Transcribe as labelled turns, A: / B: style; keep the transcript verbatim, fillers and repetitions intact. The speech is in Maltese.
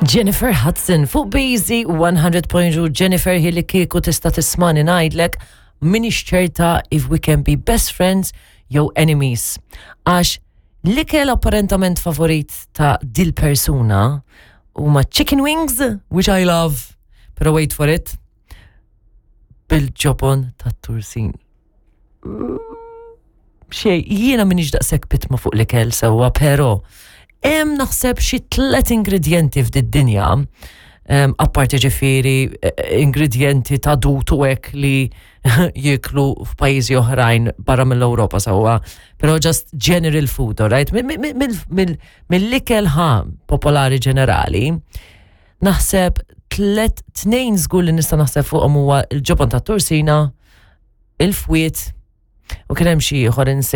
A: Jennifer Hudson fuq B Z one hundred point two. Jennifer, hi, li kieku tista' tismani ngħidlek minix ċerta if we can be best friends jew enemies. Għax l-ikel apparentament favorit ta' dil persuna huma chicken wings, which I love, pero wait for it, bil-ġobon ta' tursin. Xej, jiena minix daqshekk pitma fuq l-ikel sewwa, pero hemm naħseb xi tlet ingredienti f'did-dinja, um, apparti ġifieri eh, ingredienti ta' dut u hekk li jieklu f'pajjiżi oħrajn barra mill-Ewropa sewwa, pero just general food, alright? Mill-ikel ħa popolari ġenerali, naħseb tlet, tnejn żgur li nista' naħseb fuqhom huwa il-ġobon ta' tursina, il-fwiet, u kien hemm xi ieħor.